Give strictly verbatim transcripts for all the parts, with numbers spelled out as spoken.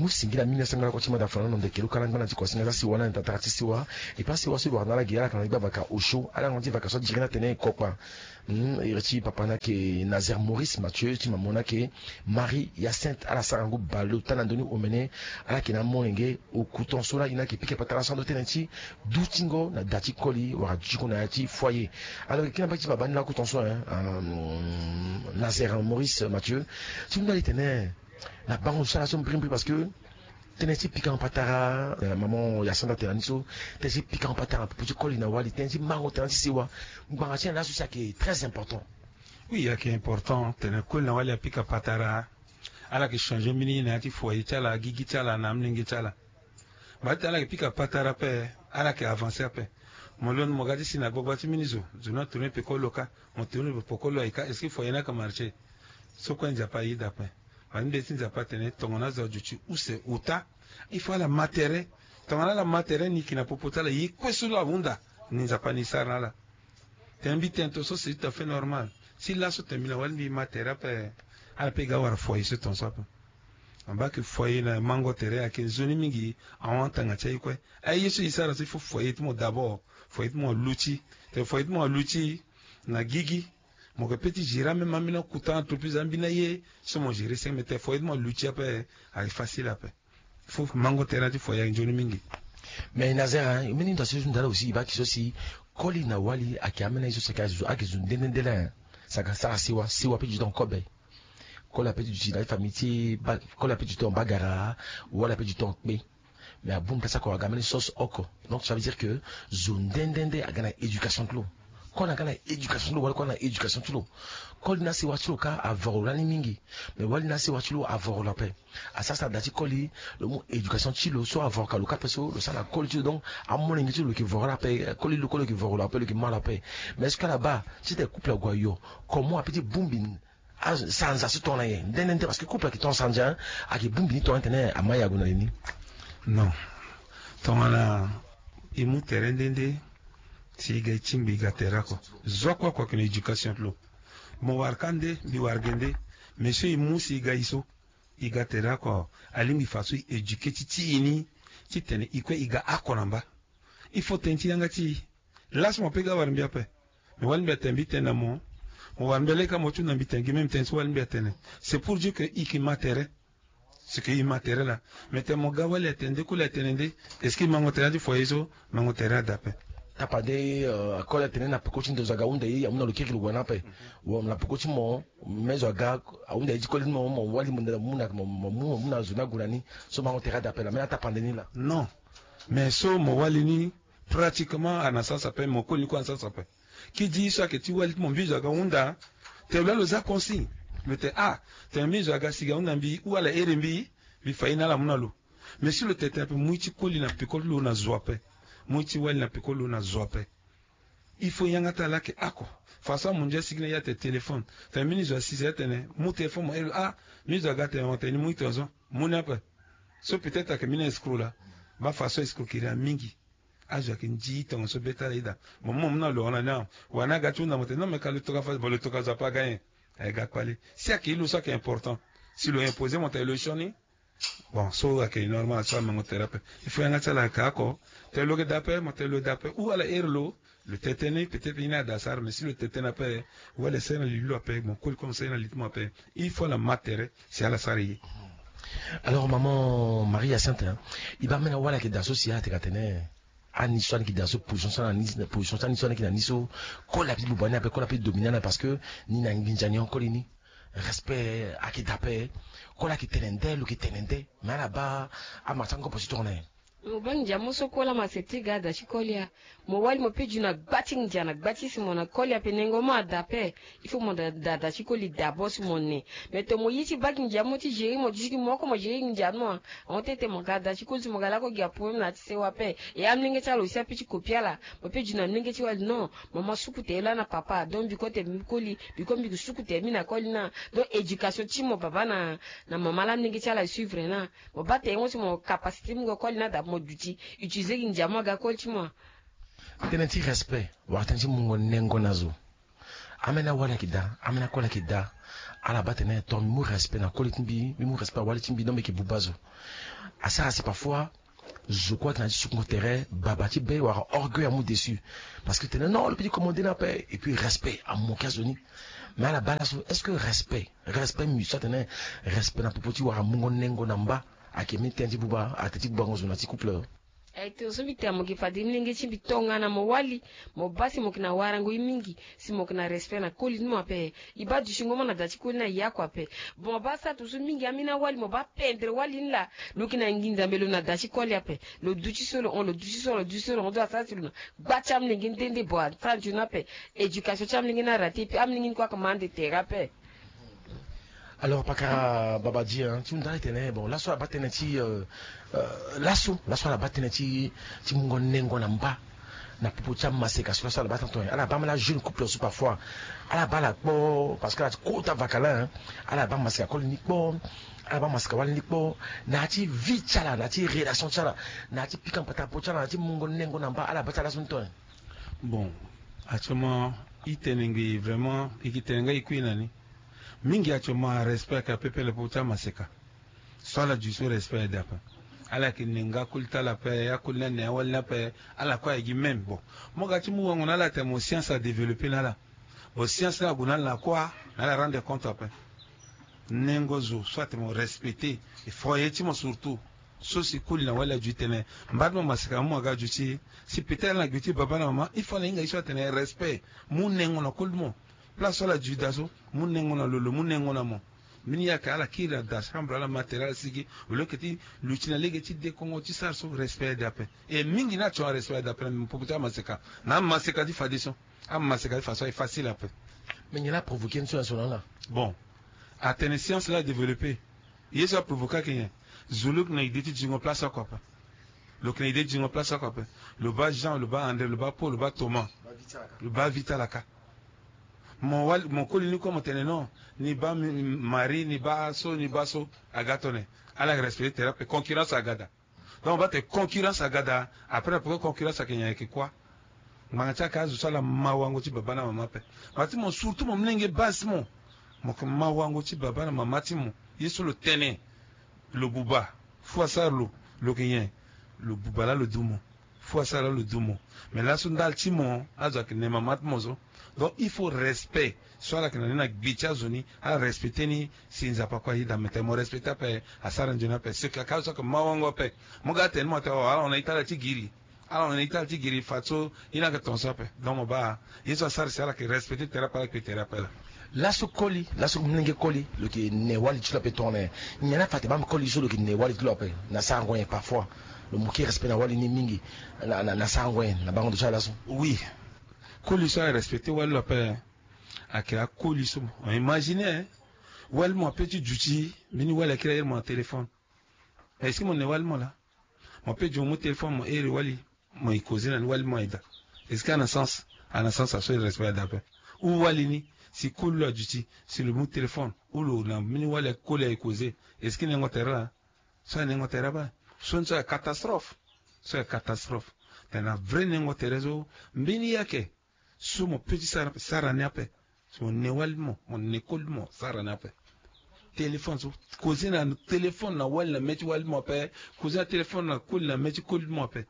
Mu singila mingi na sengala kua ti manda fana na ndeke luka na ngbana ti kuasinga za siwa na tatara ti siwa. E pa siwa so e wara na ala gi ala kana ti gba vaka osio ala na ti vaka so adiri na tene e kokpa. Hmm, iri ti papa na yeke Nazaire Maurice Mathieu ti mamo na yeke Marie Hyacinthe, ala sara ngu baleota na ndoni omene. Ala yeke na amolenge oku tonso la e na yeke pika patara so ando tënë ti dutingo na da ti koli wala dutingo na ya ti foyer. Alors e kiri na mbage ti baba ni laku tonso, hein, Nazaire Maurice Mathieu, ti mu na li tene na bango so ala so mbirimbiri parce que tënë ti pikango patara, maman Hyacinthe atene na ni so, tënë ti pikango patara na popo ti koli na wali, tënë ti mango tënë ti sewa, ngbanga ti nyen laso si ayeke très important? Oui, ayeke important tene koli na wali apika patara. Ala yeke changer mbeni ye na ya ti foyer ti ala, gigi ti ala na amolenge ti ala. Mba ti ala yeke pika patara ape, ala yeke avancer ape. Mo londo mo ga ti si na gbagba ti mbeni zo, zo ni atourner peko lo kâ. Mo tourner peko lo aye kâ, est-ce que foyer ni ayeke marcher? So kue Nzapa aye daa ape. Mba ti mbeti ti Nzapa atene tongana azo aduti use ota, il faut ala ma tere. Tongana ala ma tere ni yeke na popo ti ala, ye kue so lo ahunda ni Nzapa ni sara na ala. Tene mbi tene tonso c'est tout à fait normal. Si laso tene mbi na wali mbi ma tere ape, ala pe ga wara foyer so tonso ape. Amba yeke foyer na mango tere ayeke nzoni mingi. Ahon atanga ti aye kue. Aye so e sara so il faut foyer ti mo d'abord. Foyer ti mo aluti. Tene foyer ti mo aluti na gigi, mo yeke pe ti gérer même ambeni akuta entreprise, ambeni aye so mo gérer senge, mais tene foyer ti mo aluti ape, ayeke facile ape. Faut mango tere ti foyer ayeke nzoni mingi. Mais Nazaire, hein, mbeni ndo asi so ndala aussi e baa ki so si koli na wali ayeke ambeni aye so si ayeke zo, ayeke zo nde nde nde la, hein. Saka sara sewa, sewa ape du temps kobe. Koli ape ti duti na famille ti ba, koli ape du temps bagara, wali ape du temps kpe. Mais abongbi place oko aga mbeni sauce oko. Donc ça veut dire que zo nde nde nde aga na éducation ti lo. Koli aga na éducation ti lo, wali koli aga na éducation ti lo. Koli na sewa ti lo kâ avoro lani mingi. Mais wali na sewa ti lo avoro lo ape. Asara si ada ti koli, lo mu éducation ti lo so avoro ka lo kâ ape so lo sara na koli ti lo. Donc amolenge ti lo lo yeke voro ala ape, koli lo koli lo yeke voro lo ape, lo yeke ma lo ape. Mais est-ce que ala baa titene couple ague ayo, comment ape ti bongbi asanza so tongana nyen nde nde nde? Parce que couple ayeke tongana sanza, hein. Ayeke bongbi ni tongana tene ama ye ague na li ni. Non. Tongana e mu tere nde nde, si e ga e tingbi e ga tere oko. Zo oko oko ayeke na éducation ti lo. Mo wara kâ nde, mbi wara ge nde. Mais so e mu si e ga e so, e ga tere oko, alingbi faso e éduquer ti ti e ni, titene e kue e ga oko na mba. Il faut tënë ti yanga ti e. Laso mo pe ga wara mbi ape. Mais wali mbi atene mbi tene na mo, mo wara mbi aleka mo ti hunda mbi tene gi même tënë so wali mbi atene. C'est pour dire que e yeke ma tere. C'est que e ma tere laa. Mais tene mo ga wali atene nde, koli atene nde, est-ce que e mango tere ti foyer so? Mango tere ada ape. Tapande, euh, koli atene na peko ti ndo zo aga ahunda ye, amu na lo kirikiri gue na ape. Wa na peko ti mo, me zo aga ahunda ye ti koli ti mo, mo wali mo mu na, mo mu, mo mu na zo ni ague na ni. So mango tere ada ape laa, me na tapande ni laa. Non. Mais so mo wali ni, pratiquement ana sasa ape, mo koli ni kue ana sasa ape. Ki di so ayeke ti wali ti mo mbi zo aga hunda, tene lo laa lo za consigne. Lo tene ah, tene mbi zo aga si ga hunda mbi ou ala here mbi, mbi fa ye na ala amu na lo. Mais si lo tene tene ape, mu ye ti koli na peko ti lo na zo ape. Mu ye ti wali na peko ti lo na zo ape. Il faut yanga ti ala ayeke oko. Façon amundu asigi na ya tene téléphone. Tene mbeni zo asi si atene mu téléphone mo here lo ah, mbeni zo aga tene mo tene ni mu ye tongaso. Mu ni ape. So peut-être ayeke mbeni escroc laa. Baa façon escroquerie amingi. Azo ayeke ndi tongaso be ti ala ida. Mo mu mo mu na lo hon na ni awe. Wala ni aga ti hunda mo tene non mais ka lo toka fa, bon lo toka zo ape aga nyen? Aye ga kpale. Si ayeke ye lo so ayeke important, si lo imposer mo tene lo sioni. Bon so ayeke normal so amango tere ape. Il faut yanga ti ala ayeke oko. Tene lo yeke da ape, mo tene lo yeke da ape ou ala here lo. Lo tene tënë ni peut-être ye ni ada asara, mais si lo tene tënë ape, wali asara na li lo ape, mo koli kue mo sara ye na li ti mo ape. Il faut ala ma tere si ala sara ye. Alors maman Marie Hyacinthe, hein, e baa mbeni awali ayeke daa so si ala tene ka tene ani so ani yeke daa so, position so ani, position so ani so ani yeke na ni so, koli ape ti buba ni ape, koli ape ti dominer ani ape parce que ni na nginza ni hon koli ni. Respect ayeke daa ape. Koli ayeke tene nde, lo yeke tene nde. Mais ala baa amara ti angobo ti tongana nyen? Mo baa nginza mo so koli ama seti ga ada ti koli ya. Mo wali mo pe du na gba ti nginza na gba ti si mo na koli ape nengo mo ada ape. Il faut mo da, da, da ti koli d'abord si mo ne. Mais tene mo ye ti baa nginza mo ti gérer mo, du ti gi mo oko mo gérer nginza ti mo. Ahon tete mo ga da ti koli si mo ga lako gi aproblème na ya ti sewa ape. E amolenge ti ala aussi ape ti kopi ala. Mo pe du na amolenge ti wali non. Mo ma suku tere laa na papa. Donc mbi kue tene mbi koli, mbi kue mbi yeke suku tere mbi na koli na. Donc éducation ti mo papa na, na mama laa amolenge ti ala e suivre na. Mo baa tere mo si mo capacité ti mo ga koli ni ada mo duti utiliser gi ndia mo aga koli ti mo. Tënë ti respect wala tënë ti mungo nengo na zo. Ambeni awali ayeke daa, ambeni akoli ayeke daa. Ala baa tene ton mbi mu respect na koli ti mbi, mbi mu respect na wali ti mbi, donc mbi yeke buba zo. Asara si parfois zo kue ayeke na ya ti sukungo tere, baba ti be wala orgueil amu dessus. Parce que tene non, lo peut ti commande ni ape, et puis respect amoke azo ni. Mais ala baa laso, est-ce que respect, respect mbi so atene respect na popo ti wara mungo nengo na mba, ayeke mbeni tënë ti buba, atene ti bubango zo na ti couple? Ayeke tene so mbi tene mo yeke fade ni lenge ti mbi tongana mo wali, mo baa si mo yeke na warango ye mingi, si mo yeke na respect na koli ni mo ape. E baa dutingo mo na da ti koli ni aye oko ape. Bon, mo baa sara tongaso mingi, ambeni awali mo baa pendre wali ni laa. Lo yeke na nginza, me lo na da ti koli ape. Lo duti so lo hon, lo duti so, lo duti so lo hon, do asara si lo na gba ti amolenge ni nde nde. Bon, asara nzoni ape. Éducation ti amolenge ni arate, et puis amolenge ni kue ayeke ma ande tere ape. Alors, pakara Babadi, hein, ti hunda e tene, bon, laso ala baa tënë ti, euh, euh, laso, laso ala baa tënë ti, ti mungo nengo na mba, na popo ti amaseka so laso ala baa tene, ala baa ma la jeune couple so parfois, ala baa ala kpo, parce que ala ti kota vakalin, hein, ala baa maseka koli ni kpo, ala baa maseka wali ni kpo, na ya ti vie ti ala, na ya ti relation ti ala, na ya ti pika mpata po ti ala, na ya ti mungo nengo na mba, ala baa ti ala laso ni tene. Bon, actuellement, e tene ngbii vraiment, e ke tene nga e kui na ni. Mingi actuellement, respect ayeke ape pele popo ti amaseka. So ala dui so respect ayeke daa ape. Ala yeke ne nga akoli ti ala ape, akoli ni ane awali ni ape, ala kue aye gi même. Bon, mo ga ti mu wango na ala atene mo science adéveloppé na ala. Bon, science ni ague na ala na kua, na ala rendre compte ape. Nengo zo so atene mo respecté, e foyer ti mo surtout. So si koli na wali adui tene, mba ti mo maseka mo aga adui ti, si peut-être ala na gbe ti baba na mama, il faut ala hinga ye so atene respect. Mu nengo na koli ti mo. Place so ala dui daa so, mu nengo na lo, lo mu nengo na mo. Mbeni ye ayeke ala kiri na da chambre, ala ma tere, ala sigi, au lieu que ti luti na lege ti dekongo ti sara so, respect ade ape. E mingi ni atio arespect ade ape na popo ti amaseka. Na amaseka ti fadeso. Amaseka ti fadeso aye facile ape. Mais nyen la provoqué ni so na so na ala? Bon. Atene science la adéveloppé. Ye so aprovoqué ayeke nyen? Zo lo yeke na idée ti dingo place oko ape. Lo yeke na idée ti dingo place oko ape. Lo baa Jean, lo baa André, lo baa Paul, lo baa Thomas. Lo baa vie ti ala kâ. Mo wali, mo koli ni kue mo tene non, ni baa mi-, Marie, ni baa so, ni baa so, aga tone. Ala yeke respecté tere ape, concurrence aga daa. Donc, mo baa tene concurrence aga daa, après na peko concurrence ayeke nyen, ayeke kuâ? Ngbanga ti ala yeke azo so ala ma wango ti baba na mama ape. Ngbanga ti mo, surtout mo molenge base ti mo, mo yeke ma wango ti baba na mama ti mo. Ye so lo tene, lo buba, fou asara lo, lo yeke nyen? Lo buba laa lo du mo. Fou asara laa lo du mo. Mais laso ndali ti mo, azo ayeke ne mama ti mo so. Donc, il faut respect. So ala yeke na ni na gbe ti azo ni, ala respecté ni, si Nzapa kue ayeda. Mais tene mo respecté ape, asara nzoni ape. Ce que aka so ayeke ma wango ape. Mo ga atene ni mo atene, oh, ala hon na ita ala ti giri. Ala hon na ita ala ti giri fadeso, ye ni ayeke tongaso ape. Donc mo baa, ye so asara si ala yeke respecté tere ape, ala yeke tere ape laa. Laso koli, laso molenge koli, lo yeke ne wali ti lo ape tongana nyen? Nyen la fa atene baa koli so lo yeke ne wali ti lo ape na sarango nyen? Parfois lo manqué respect na wali ni mingi, na, na, na sarango nyen na bango ndo ti ala laso? Oui. Koli so arespecté wali lo ape, ayeke akoli so, mo imaginer, hein? Wali mo ape ti duti, mbeni wali akiri ayere mo na téléphone. Est-ce que mo ne wali mo laa? Mo peut ti mo mu téléphone mo here wali, mo e causer na ni, wali mo aye daa. Est-ce que a na sens? A na sens, aso e respect ade ape. Ou wali ni, si koli lo aduti, si lo mu téléphone, ou lo na mbeni wali koli aye causer, est-ce que nengo tere laa? So aye nengo tere ape. So ni so aye catastrophe. So aye catastrophe. Tena vrai nengo tere so, mbeni ye ayeke. So mo peut ti sara, sara ni ape. So mo ne wali mo, mo ne koli mo, sara ni ape. Téléphone so, causer na téléphone na wali na mê ti wali mo ape. Causer na téléphone na koli na mê ti koli mo ape.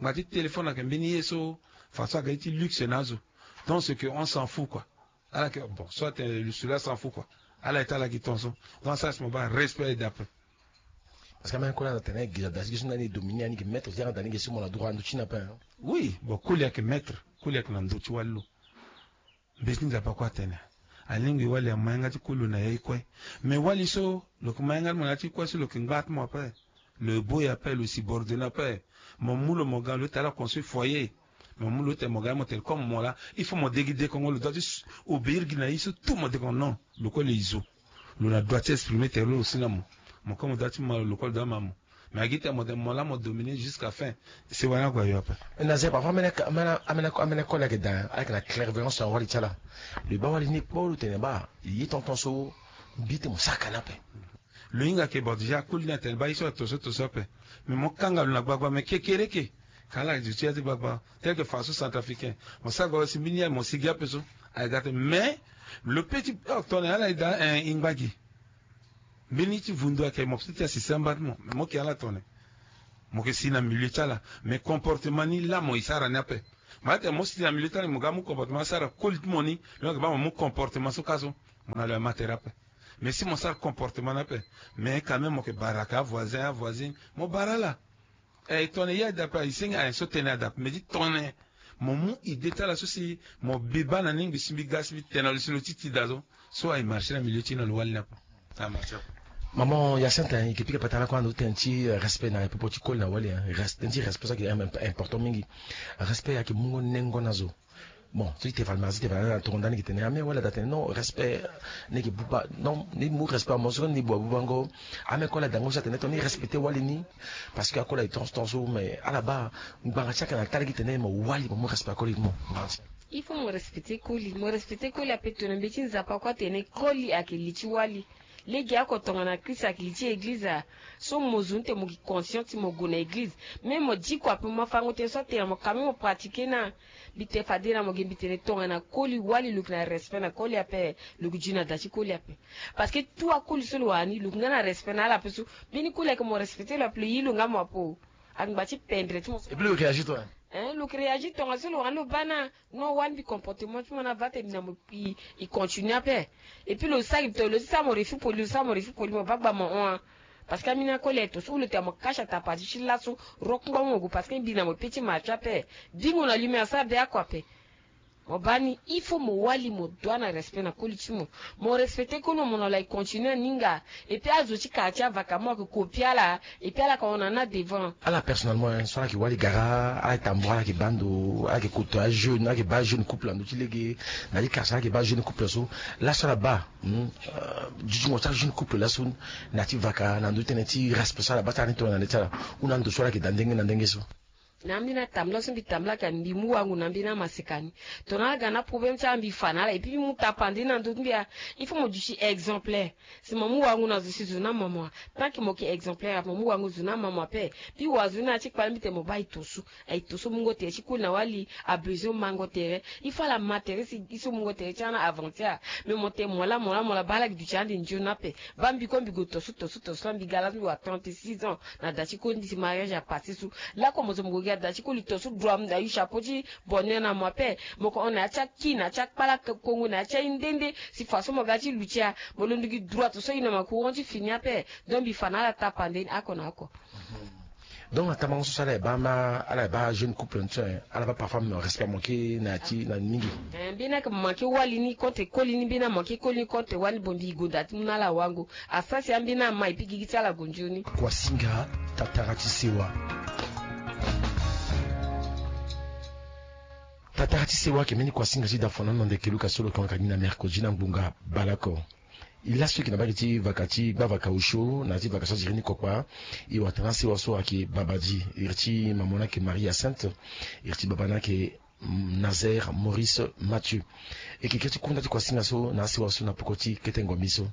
Ngbanga ti téléphone ayeke mbeni ye so, façon ayeke ye ti luxe na azo. Donc c'est que on s'en fout quoi. Ala yeke, bon, so atene celui-là s'en fout quoi. Ala ye ti ala gi tongaso. Donc asara si mo baa respect aye daa ape. Parce que ameni koli ala tene gi da si gi so ndani e dominer ani gi maître ti ala ndani gi so mo na droit ando ti ni ape, hein. Oui, bon, koli ayeke maître, koli ayeke na ndö ti wali lo. Mbeti Nzapa kue atene, alingbi wali ama yanga ti koli lo na ya ye kue. Mais wali so lo yeke ma yanga ti mo na ya ti kue so lo yeke ngba ti mo ape. Lo ye bo ye ape, lo subordonné ape. Mo mu lo mo ga lo ti ala construire foyer. Mo mu lo ti mo ga mo tene comme mo laa, il faut mo de gi dekongo, lo doit ti obéir gi na ye so tout mo dekongo. Non, lo kue lo ye zo. Lo na droit ti exprimer tere lo aussi na mo. Mo kue mo doit ti ma lo, lo kue lo doit ma mo. Mais agi tene mo tene mo laa mo dominer jusqu'à fin. Sewa ni ague ayo ape. Na zia parfois amene, amene, amene, amene koli ayeke daa, ayeke na clairvoyance na wali ti ala. Lo baa wali ni kpo, lo tene baa ye tonton so, mbi tene mo saka ni ape. Lo hinga ke, bon, déjà akoli ni atene baa ye so ato so, to so ape. Mais mo kanga lo na gbagba, mais kekereke. Ka ala duti ya ti gbagba. Tel que façon centrafricain. Mo sara gbagba si mbeni ya mo sigi ape so. Aye ga te, mais lo pe ti, oh, tongana ala ye daa, eh, e ngba gi. Mbeni ti vundu ayeke mo pe ti asisa mba ti mo, mais mo yeke ala tongana mo yeke si na milieu ti ala. Mais comportement ni laa mo e sara ni ape. Mo laa tene mo si na milieu ti ala, mo ga amu comportement asara koli ti mo ni, lo yeke baa mo mu comportement so ka so, mo na lo ya ma tere ape. Mais si mo sara comportement ni ape, mais quand même mo yeke bara ka avoisin, avoisine, mo bara ala. Eh, tongana ye adape, e senge ayen so tene adape, mais ti tongana mo mu idée ti ala so si mo bi baa na ni, mbi si mbi ga si mbi tene na lo si lo ti ti daa so, so aye marché na milieu ti na lo wali ni ape. Aye marché ape. Maman Hyacinthe, hein, e yeke pika patara kue ando tënë ti, euh, respect na popo ti koli na wali, hein. Res-, tënë ti respect so ayeke im-, im-, important mingi. Respect ayeke mungo nengo na zo. Bon, so i te fa almasi, i te fa na tongo ndani, i ke tene ame wala da tene non, respect ni yeke buba. Non, ni mu respect, mo so ni bua bubango. Ame koli adango so atene tongana ni respecté wali ni, parce que akoli aye tonso tonso, mais ala baa ngbanga ti ayeke na tali gi tene mo wali, mo mu respect akoli mo. Il faut mo respecté koli, mo respecté koli ape. Tongana mbeti nzapa kue atene koli ayeke li ti wali. Lege oko tongana Christ ayeke li ti église, ah. So mo zo ni tene mo gi conscient ti mo gue na église. Mais mo diko ape, mo ma fango tënë so atene mo quand même mo pratiqué na. Mbi te fade na mo ge, mbi tene tongana koli wali, lo yeke na respect na koli ape, lo yeke gi na da ti koli ape. Parce que tout akoli so lo wara ni, lo yeke nga na respect na ala ape so. Mbeni koli ayeke mo respecté lo ape, lo yi lo nga mo ape. Angba ti pendre ti mo so. Et puis lo réagit toi, hein? Hein, lo yeke réagit tongaso lo wara ni, lo baa na. Non, wali mbi comportement ti mo na va te mbi na mo i, i continue ape. Et puis lo sara mbi to, lo ti sara mo refus poli, lo sara mo refus poli, mo baa gba mo hon. Parce que ambeni akoli aye to so, ou lo tene mo kasi atapati ti laso, rokungba mo gue, parce que mbi na mo pe ti marché ape. Bingo na lui, mais asara be oko ape. Mo baa ni, il faut mo wali, mo dua na respect na koli ti mo. Mo respecté koli mo, mo na lo aye continue aninga. Et puis azo ti quartier avaka mo ayeke copier ala. Et puis ala yeke hon na ni na devant. Ala personnellement, hein, so ala yeke wali gara, ala yeke tambula, ala yeke baa ndo, ala yeke kota ajeune, ala yeke baa jeune couple na ndö ti lege, na ti quartier ala yeke baa jeune couple so. Laso ala baa, hmm, euh, dutingo ti ajeune couple laso na ya ti vaka na ndö ti tënë ti respect so ala baa ti ala ni tongana na le ti ala. Ou na ndo so ala yeke daa ndenge na ndenge so. Na ambeni atambula so mbi tambula ka, mbi mu wango na ambeni amaseka ni. Tongana ala ga na problème ti ala, mbi fa na ala, et puis mbi mu tapande na ndö ti mbi, ah. Il faut mo duti exemplaire. Si mo mu wango na zo si zo na mama. Tant que mo yeke exemplaire, mo mu wango zo na mama ape. Puis wazoni na ya ti kpale mbi tene mo baa aye to so. Aye to so mungo tere ti koli na wali, abesoin mango tere. Il faut ala ma tere si i so mungo tere ti ala na avantage. Mais mo tene mo laa, mo laa, mo laa, baa ala gi duti ande nzoni ape. Baa mbi kue mbi gue to so, to so, to so laa, mbi ga laso mbi wara trente-six ans. Na da ti koli, ndi si mariage apassé so. Lakue mo zo mo gue gi na da ti koli to so, droit mo da yu chapeau ti bonheur na mo ape. Mo yeke hon na ya ti aki, na ya ti akpala kongo, na ya ti aye nde nde. Si façon mo ga ti luti a, mo londo gi droit to so, i na ma courant ti fini ape. Donc mbi fa na ala tapande ni oko na oko. Donc na tamango so, so ala ye baa ma, ala ye baa jeune couple ni so, eh, ala baa parfois mo respect manqué na ya ti na mingi. Eh, mbeni ayeke manqué wali ni contre koli ni, mbeni amanqué koli ni contre wali ni, bon mbi gonda ti mu na ala wango. Asara si ambeni ama et puis gigi ti ala gue nzoni. Kuasinga, tatara ti sewa. Tatara ti sewa ayeke mbeni kuasinga ti da fana na ndeke Lucas so lo yeke hon ka gi na mercredi na ngbonga baleoko. E laso e yeke na mbage ti vaka ti gbavaka osio na ya ti vaka so aziri ni kokpa. E wara tara na sewa so ayeke babadi, iri ti mama ni ayeke Marie Hyacinthe, iri ti baba ni ayeke, mm, Nazaire Maurice Mathieu. E yeke kiri ti kunda ti kuasinga so na asewa so na poko ti kete ngombi so.